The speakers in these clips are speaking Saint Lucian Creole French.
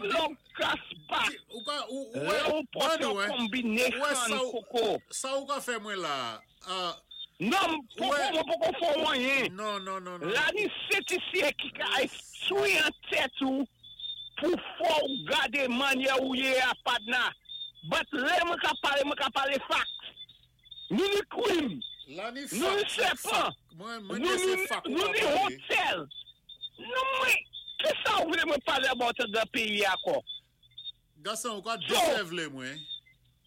Plug kaspa. Ou ka, ou, ou, Lè ou pòt Manu, yon eh, Ou combination sa ou, koko. Sa ou ka fè mwen la, Non, poko, mwen poko fò wanyen. Non, non, non, non. La ni setisye ki ka estwi an tèt ou pou fò ou gade manyè ou ye a padna. But lè mwen ka pale facts. Nou ni krim, La ni nou ni fak, sepan, fak. Mwen nou de se ni, fak ou nou ka ni pale. hotel. Nou mwen, ki sa ou vle mwen pale about the peyi akò? Gason, ou ka So, desevle mwen.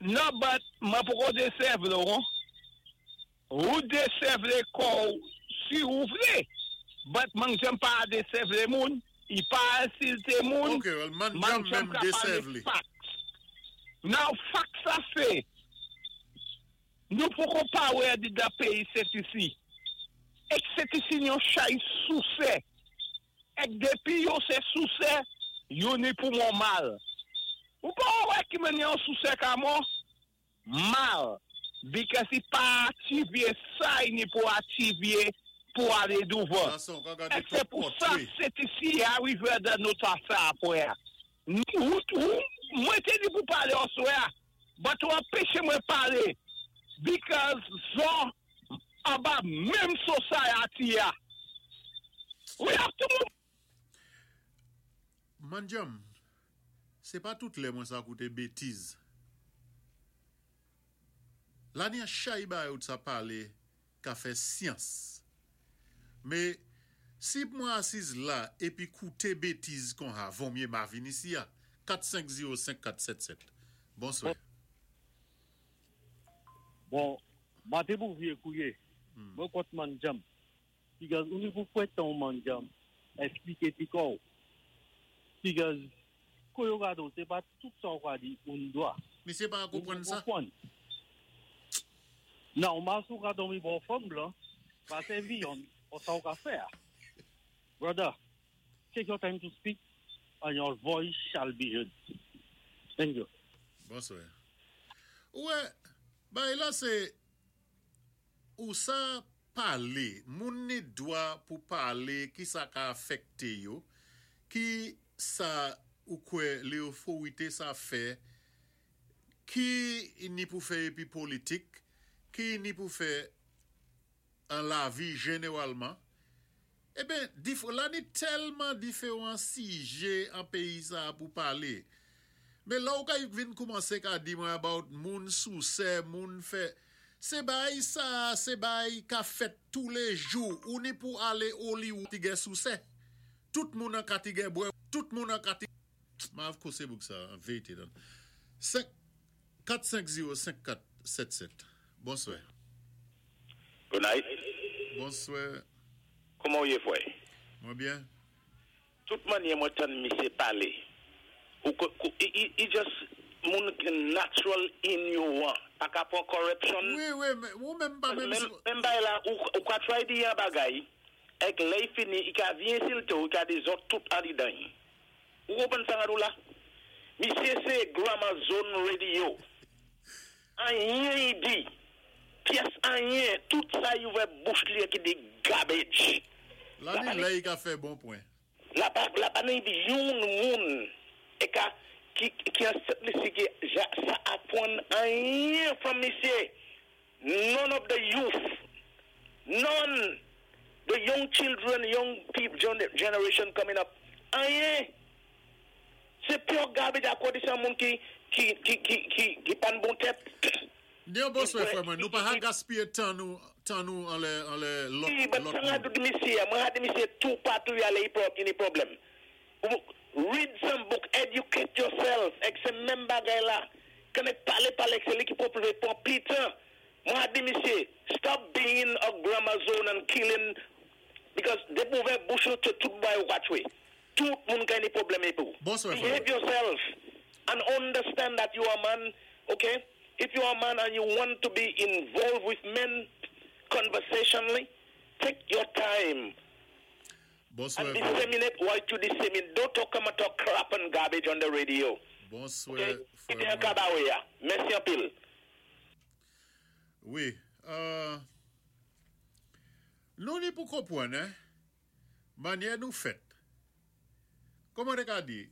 Non, but mwen poko desevle ou. Ou desevle kou si ou vle. But mwen jem pa desevle moun, i pa insilte moun, Ok, well, man mwen jam jem menm ka pale desevle. facts. Now, fact sa se, nou poko pa wè di da peyi set isi. Ek set isi yon chay souse. Ek depi yo se souse, yo ni pou moun mal. Ou pa wè ki men yon souse ka moun? Mal. Because i pa ativye sa i ni pou ativye pou ale douvan. Gason, ou ka gade Ek se tout pou sa portrait. set isi arive de nou ta sa apwe. Nou, ou, mwen te di pou pale oswe, but ou anpeche mwen pale. Because zon aba menm society ya. We have to move. Manjam, se pa tout lè mwen sa koute betiz. La ni a chay ba ou sa pale ka fè syans. Me, si mwen asiz la epi koute betiz kon ha, von mye ma vin isi ya. 4505477. Bonswè. Bon, mate pou vie kouye, mwen kont manjam. Because ou ni pou fwet ton manjam, esplike ti kou. Because, kou yo gado, se pa tout sa ou ka di, ou n dwa. Mi se pa Ou kompren sa? kompren. Nan, mas ou ka domi bon fòm la, pa servi yon, ou sa ou ka fè. Brother, take your time to speak, and your voice shall be heard. Thank you. Bonswè. Ouè, bay la se, ou sa pale, moun ni dwa pou pale ki sa ka afekte yo, ki sa ou kwe le oforite sa fe, ki ni pou fe epi politik, ki ni pou fe an la vi jeneralman, e ben, la ni telman diferan sije an peyi sa pou pale. Men la ou ka vin koumanse ka di mwen about moun souse, moun fe, se bay sa, se bay ka fet tous les jours, ou ni pou ale Hollywood ti gen souse. Tout moun an ka ti gen bwe, tout moun an ka ti... Ma av kose bouk sa, an veyte dan. 5, 4, 5, 0, 5, 4, 7, 7. Bonswè. Good night. Bonswè. Kouman ou ye fwe? Mwen bien. Tout manye mwen tan misye pale. Ou i just moun ki natural in you wan. Pa ka pon corruption. Oui, oui, men, ou men pa men... Men bay la, ou ka try di yon bagay, ek ley fini, i ka vi insilte ou, i ka di zot tout an di dan. Ou kompren sa nga dou la? Misye se Grammar Zone Radio. Anyen yi di. Piyes anyen. Tout sa yi ouve bouch li ki di garbage. La ni ley ka fe bon point. La pa nan di yon moun e ka ki an set li si ki ja, sa apon anyen from misye. None of the youth, none the young children, young people, generation coming up. Anyen. Se pure garbage akodi sa moun ki pan bon tèt. Nyon bonswè fwe mwen, nou pa ha gaspye tan nou, tan nou an le lot, Si, but lot sa nga moun. di misye, mwen ha di misye tout patou yale yi pro, ini problem. Read some book, educate yourself, ek se menm bagay la. Kene pale pale, ek se li ki pou pleve pon pitan. Mwen ha di misye, stop being a grammar zone and killing, because de pou ve bouch ou te tout bay ou katwe. Tout moun ka ni problem e pou. Bonswè, Behave frè. yourself and understand that you are a man, okay? If you are a man and you want to be involved with men conversationally, take your time Bonswè, and frè. disseminate what you disseminate. Don't talk about talk crap and garbage on the radio. Bonswè, Okay? frè Ite an mwen. kabawe ya. Mèsi an pil. Oui. Nou ni pou kompwen, eh? Manye nou fet. Koman de ka di?